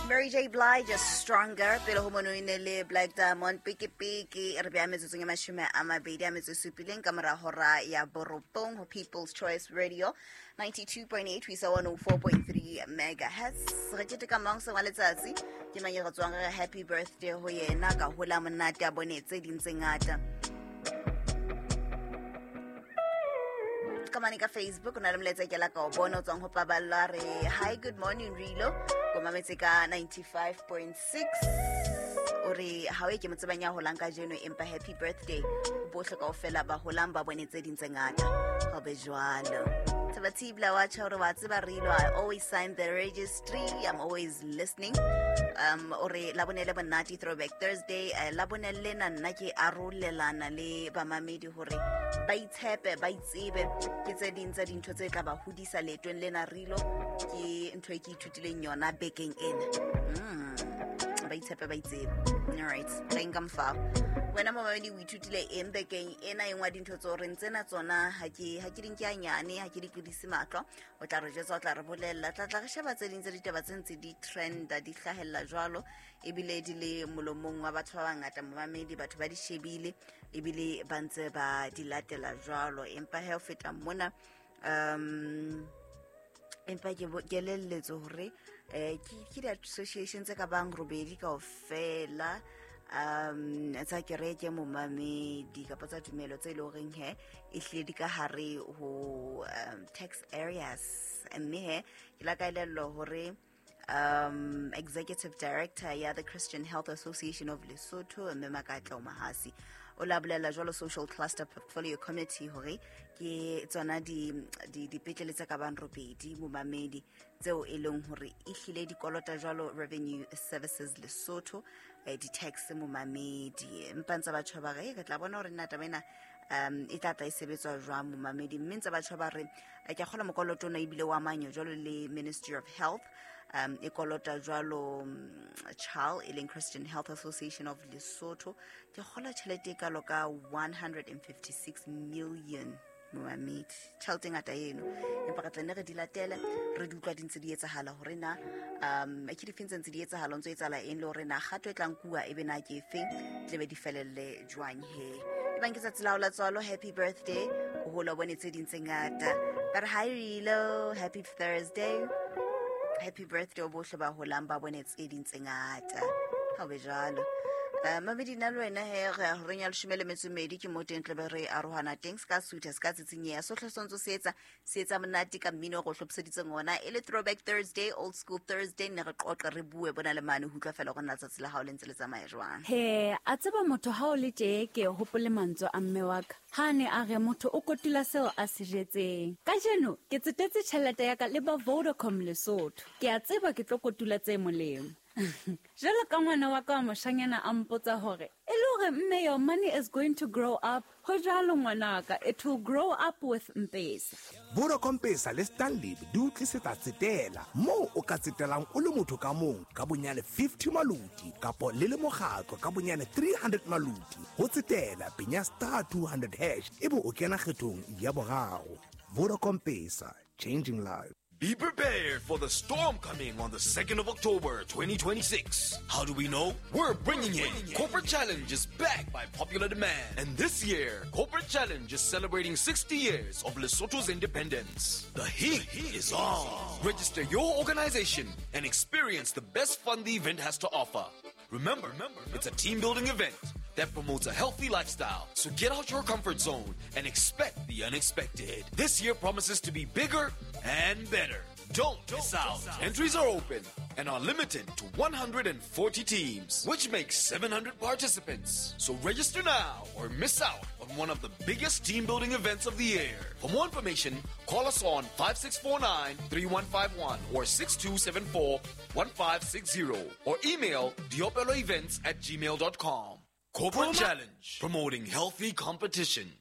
Mary J Blige Stronger pele ho mono e ne le Black Diamond peke peke re beha metsotsong e 27 ka mora hora ya borobong ho People's Choice Radio 92.8 ho isa 104.3 megahertz. Re keteka mang seng wa letsatsi ke mang e re tswang re happy birthday ho yena ka hola monate a bone tse ding tse ngata. Ka mane ka Facebook o na le molaetsa ke la ka o bona o tswang ho Paballo a re hi, good morning Rilo, o mametse ka 95.6. O re ha o e ke mo tsebang ya holang kajeno, empa happy birthday bohle kaofela ba holang ba bone tse ding tse ngata. Ho be jwalo. Tabatibla wa tjha hore wa tseba Rilo, I always sign the registry, I'm always listening. O re labone le monate Throwback Thursday, labone lena nna ke arolelana le bamamedi hore ba itshepe, ba itsebe, ke tse ding tsa dintho tse tla ba hodisa leetong lena Rilo, ke ntho e ke ithutileng yona bekeng ena. Ba itshepe, ba itsebe. All right, re nka mfao. Wena momamedi o ithutile eng bekeng ena? E nngwe ya dintho tse o reng tsena tsona ha ke di nke hanyane, ha ke di tlodise mahlo, o tla re jwetsa, o tla re bolella. Tla tla re sheba tse ding tsa ditaba tse ntse di trenda, di hlahella jwalo, ebile di le molomong wa batho ba bangata momamedi, batho ba di shebile ebile ba ntse ba di latela jwalo. Empa he ho feta mona, empa ke kelelletse hore ke di-association tse ka bang robedi kaofela, tsa kereke momamedi kapa tsa tumelo tse leng horeng he e hlile di ka hare ho tax areas. Mme he ke la ka elellwa hore executive director ya the Christian Health Association of Lesotho, mme Makatla Mahasi, o la bolela jwalo Social Cluster Portfolio Committee hore ke tsona dipetlele tse ka bang robedi momamedi tseo e leng hore e hlile di kolota jwalo Revenue Services Lesotho, di-tax momamedi. Empa ntse batho ba re re tla bona hore nna taba ena e tla tla e sebetswa jwang momamedi. Mme ntse batho ba re ke a kgolwa mokoloto ona ebile wa manyo jwalo le Ministry of Health, e kolota jwalo CHAL e leng Christian Health Association of Lesotho, ke kgolwa tjhelete e kalo ka 156 million momamedi, tjhelete e ngata eno. Empa re tla nne re di latele, re di utlwa di ntse di etsahala hore na ke difeng tse ntse di etsahala, o ntso etsahala eng, le hore na kgato e tlang kuwa ebe na ke efeng, tle be di felelle jwang he. Ebang ke tsatsi la hao la tswalo, happy birthday, o hole o bone tse ding tse ngata. Ba re hi Rilo, happy Thursday, happy birthday o bohle ba holang ba bone tse ding tse ngata. Ha o be jwalo. Mamedi nna le wena he re ya horeng ya 12 ke mo teng tle be re arohana teng, se ka sutha, se ka tsitsinyeha, sohle se ntse se etsa, se etsa monate ka mmino o re hlophiseditseng ona e le Throwback Thursday, Old School Thursday. Ne re qoqe, re bue bona le mane ho utlwa fela hore na letsatsi la hao le ntse le tsamaya jwang. He a tseba motho ha o le tje, ke hopole mantswe a mme wa ka ha ne a re motho o kotula seo a se jetseng. Kajeno ke tsetetse tjhelete ya ka le ba Vodacom Lesotho, ke a tseba ke tlo kotula tse molemo. Jwalo ka ngwana wa ka wa moshanyana a mpotsa hore e le hore mme your money is going to grow up. Ho jwalo ngwanaka, it will grow up with Mpesa. Vodacom Pesa le Stanlib di o tlisetsa tsetela moo o ka tsetelang o le motho ka mong ka bonyane 50 maluti kapo le le mokgatlo ka bonyane 300 maluti. Ho tsetela penya star 200 hash ebe o kena kgethong ya boraro. Vodacom Pesa, changing lives. Be prepared for the storm coming on the 2nd of October, 2026. How do we know? We're bringing it. Corporate Challenge is back by popular demand. And this year, Corporate Challenge is celebrating 60 years of Lesotho's independence. The heat is on. Register your organization and experience the best fun the event has to offer. Remember, it's a team-building event that promotes a healthy lifestyle. So get out your comfort zone and expect the unexpected. This year promises to be bigger and better. Don't miss out. Entries are open and are limited to 140 teams, which makes 700 participants. So register now or miss out on one of the biggest team-building events of the year. For more information, call us on 5649-3151 or 6274-1560 or email diopeloevents@gmail.com. Corporate Challenge, promoting healthy competition.